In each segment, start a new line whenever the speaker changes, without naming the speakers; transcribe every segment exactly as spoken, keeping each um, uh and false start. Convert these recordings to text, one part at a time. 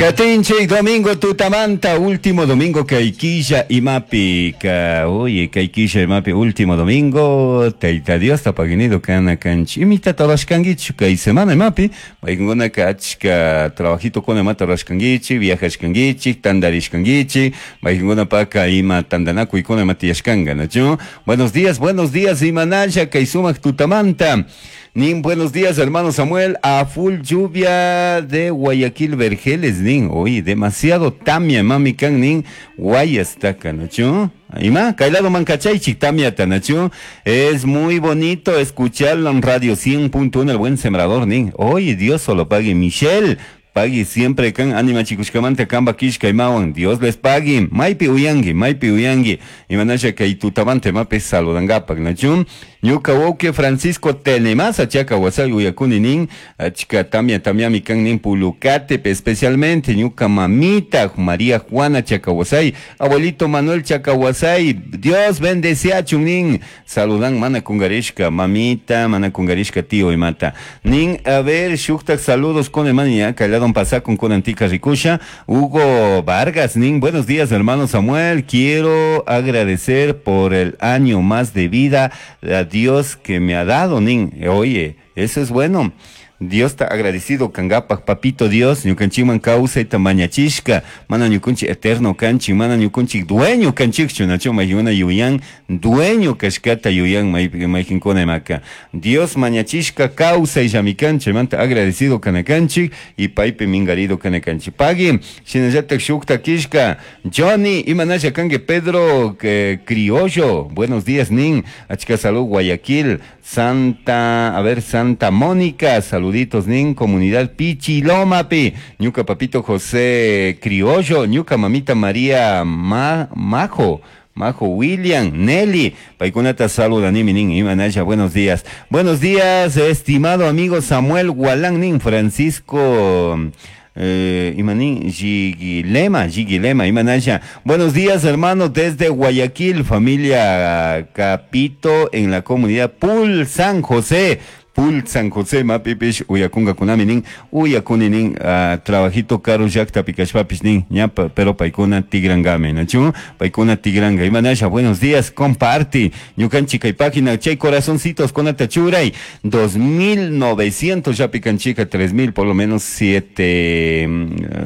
Katinchik domingo tutamanta, último domingo kay killa imapi, ka, oye, kay killa imapi, último domingo, Tayta Dios tapaginido kana kanchi, imita tarashkangichu kay semana imapi, maykunaka achka trabajito kuna imata rurashkangichik, viajashkangichik, tandarishkangichik, maykunapaka ima tandanakuykuna ima tiyashkanka, ¿nachu? Buenos días, buenos días, imanalla kay sumak tutamanta. Nin, buenos días, hermano Samuel. A full lluvia de Guayaquil Vergeles, nin. Oye, demasiado tamia, mami kan, nin. Guayas taka, ¿nachu? Ima, kaylado mancachaychik, tamia tanachu. Es muy bonito escucharlo en Radio cien punto uno, el buen sembrador, nin. Oye, Dios solo pague, Michelle. Pagui siempre kan anima chikushkamanta kamba kishka imawan. Dios les pague. Maypi uyangi, maypi uyangi. Imanasha kay tutamante mape saludangapak, nachun. Ñuka wauki Francisco Tenemasa chaka wasay uyakuni nin. Achka tamia tamiami kan nin Pulucate, especialmente ñuka mamita María Juana Chacahuasay, abuelito Manuel Chacahuasay. Dios bendeciachun nin. Saludan mana kungarishka mamita, mana kungarishka tío imata. Nin, a ver, shuktak saludos con el mania, Don Pasacon con Antica Ricucha, Hugo Vargas, nin, buenos días hermano Samuel, quiero agradecer por el año más de vida a Dios que me ha dado, nin, oye, eso es bueno. Dios está agradecido, kangapak, papito Dios, ñukanchikman kawsayta mañachishka, mana ñukunchik eterno kanchik, mana ñukunchik dueño kanchikchu, nacho mayuna yuyan, dueño kashkata yuyan maykinkuna imaka. Dios mañachishka kawsay llamikanchik, manta agradecido kanakanchik, y paypi mingarido kanakanchik. Pagui, shinallatak shukta kishka, Johnny, imanasha kanki Pedro eh, Criollo, buenos días, nin, achka salud, Guayaquil, Santa, a ver, Santa Mónica, salud. Saluditos, nin, comunidad Pichilomapi, ñuka papito José Criollo, ñuka mamita María Ma, Majo, Majo William, Nelly, paykunata saludanimi nin, imanasha, buenos días. Buenos días, estimado amigo Samuel Gualán, nin, Francisco... Eh, imanín, Giguilema, Giguilema, imanasha. Buenos días, hermanos, desde Guayaquil, familia Capito, en la comunidad Pul San José. Pul San José, mapipish, uyakunga kunami nin, uyakuni nin, uh, trabajito caro llakta pikashpapish nin, ñapa, pero paykuna tigrangame, nachu, paykuna tigranga, imanasha, buenos días, comparte, ñukanchik kay página, chay corazoncitos kunata churay, dos mil novecientos ya pikanchika, tres mil, por lo menos siete,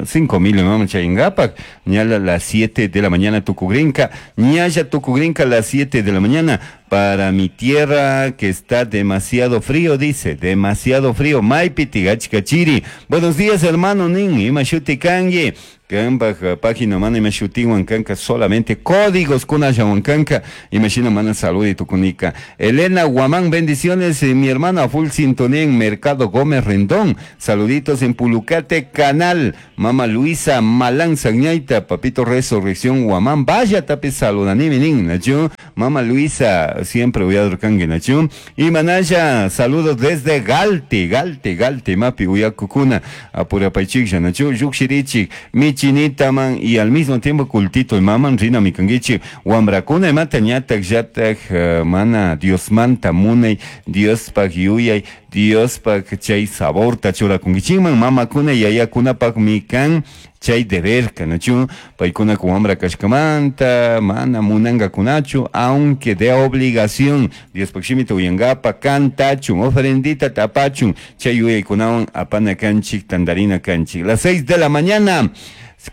cinco mil, mama chayingapak, ñala las siete de la mañana tukugrinka, ñalla tukugrinka las siete de la mañana, para mi tierra que está demasiado frío, dice, demasiado frío, Maypi tigachkachiri. Buenos días, hermano nin, imashuti kangi. Kanpa página mana imashutiwan kanka solamente códigos kunallawan kanka imashina mana salud y tukunika. Elena Guamán, bendiciones, eh, mi hermana full sintonía en Mercado Gómez Rendón. Saluditos en Pulucate Canal. Mama Luisa Malán Sagñaita, papito Resurrección Guamán, vaya tapi saludanimi nin, nachu. Mama Luisa, siempre voy a kangi, nachu. Y manaya, saludos desde Galte, Galte, Galte, mapi uyakukuna, apurapaychiklla, nachu, yukshirichik, mi chinita man y al mismo tiempo cultito y maman rina mi kangichi wambrakuna imata ñatak llatak uh, mana Dios manta munay Dios pak yuyay Dios pak chay saborta churakunkichikman mamakuna yayakunapak mikan chay deber kanachu paykuna wambra kashkamanta mana munangakunachu aunque de obligación Dios pak shimita uyangapa kantachun ofrendita tapachun chay yuyaykunawan apana kanchik tandarina kanchik. Las seis de la mañana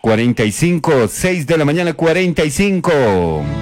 cuarenta y cinco, seis de la mañana cuarenta y cinco.